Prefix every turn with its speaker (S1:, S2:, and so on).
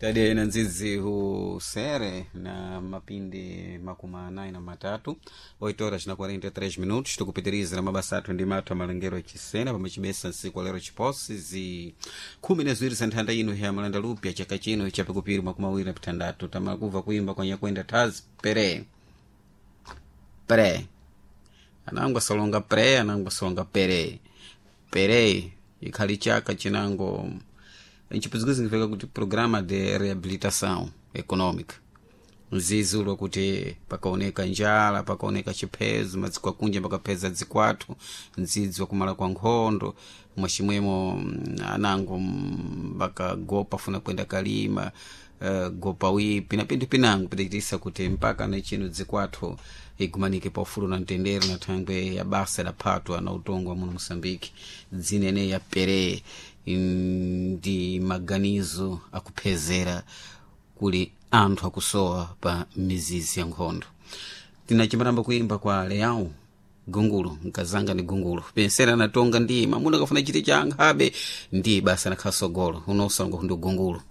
S1: Tadiye na nzizi husere na mapindi 43, 8 horas na 43 minutos. Tukupitiriza na mabasa athu ndi mathu amalengero achisena pamachibesa nsiku alero chiposi zi 12 za nthanda ino ya malanda lupya chaka chino chapikupiri 26. Tamakuva kuimba kwa nyakwenda taz pere pere anango asolonga pre, anango asolonga pere pere, ikhali chaka chinango nchipuzikuzi significa kuti programa de reabilitação econômica, mzizi ulwa kuti pakaoneka njala, pakaoneka chiphezo madziko akunja pakapheza dzikwathu, mdzidzi wakumala kwa nkhondo mwachimwemo, anango bakagopa funa kwenda kalima, gopa wipi na pinthu pinango pidachitisa kuti mpaka na chino dzikwathu igumanike paufulu na mtendere na thangwe ya basa idaphatwa na utongo wa muno Moçambique, dzinene ya pere ndi maganizo akuphezera kuli anthu akusowa pa mizizi ya nkhondo. Tinachimbaramba kuimba kwa Leão Gungulu, mkazanga ni gungulu pensera natonga ndi mamuna kafuna chiti cha ankhabe ndi basa nakhala sogolo unosongo ndi gungulu.